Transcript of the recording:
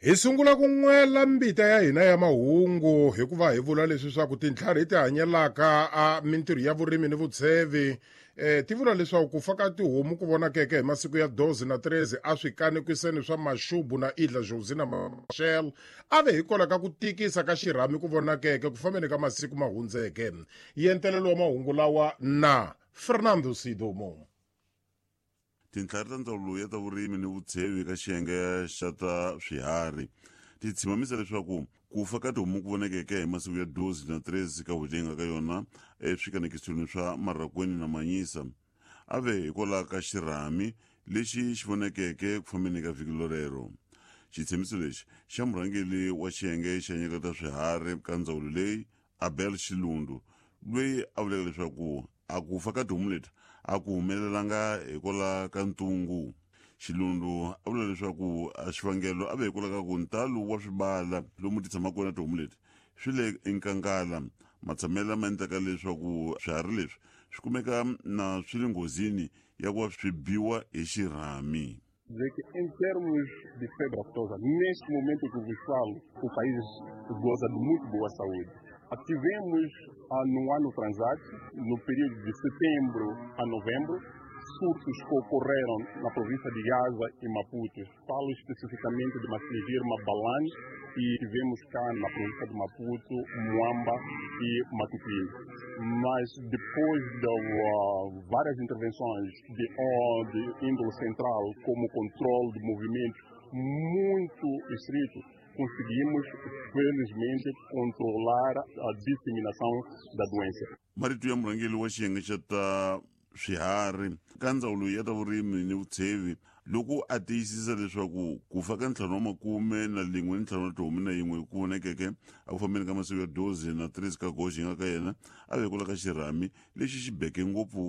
Hi sungula ku n'wela mbita ya hina ya mahungu hikuva hi vula leswi swa ku tintlhari ti hanyelaka a mintirho ya vurimi ni vutshevi eh, ti vula leswaku ku fa ka tihomu ku vonakeke hi masiku ya 12 na 13 a swi kanekiseni swa Mashubu na Idla Jozi na Machel a ve hikwalaho ka ku tikisa ka xirhami ku vonakeke ku fambeni ka masiku ma hundzeke. Yentelelo wa mahungu lawa na Fernando Sidomo. Tintlhari ta Ndzawulo ya ta Vurimi ni Vutshevi eka xiyenge xa ta swiharhi ti tshimamisa leswaku ku fa ka tihomu ku vonekeke hi masiku ya 12 na 13 ka n'hweti yi nga ka yona eswikanekisweni swa Marhakweni na Manyisa a ve hikwalaho ka xirhami lexi xi vonekeke ku fambeni ka vhiki lorero. Xitshembiso lexi xa murhangeri wa xiyenge xa nyika ta swiharhi ka ndzawulo leyi Abel Xilundu loyi a vuleke leswaku a ku fa ka tihomu leti a ku humelelanga hikwalaho ka ntungu. Xilundu a vula leswaku a xivangelo a ve hikwalaho ka ku ntalo wa swibala lomu ti tshamaka kona tihomu leti swi le enkangala matshamelo lama endlaka leswaku swiharhi leswi swi kumeka na swi le nghozini ya ku va swi biwa hi xirhami. Dizer que em termos de febre aftosa, neste momento que vos falo, o país goza de muito boa saúde. Tivemos no ano transato, no período de setembro a novembro, surtos que ocorreram na província de Gaza e Maputo. Falo especificamente de Massingir, Mabalane e tivemos cá na província de Maputo, Moamba e Matutuine. Mas depois de várias intervenções de, de índole central, como controle de movimentos muito estrito, conseguimos, felizmente, controlar a disseminação da doença. Marito ya murhangeri wa xiyenge xa ta swiharhi ka ndzawulo ya ta vurimi ni vutshevi loko a tiyisisa leswaku ku fa ka ntlhanu wa makume na lin'we ni ntlhanu wa tihomu na yin'we ku vonekeke a ku fambeni ka masiku ya 12 na 13 ka goji nga ka yena a vekula ka xirhami lexi xi beke ngopfu.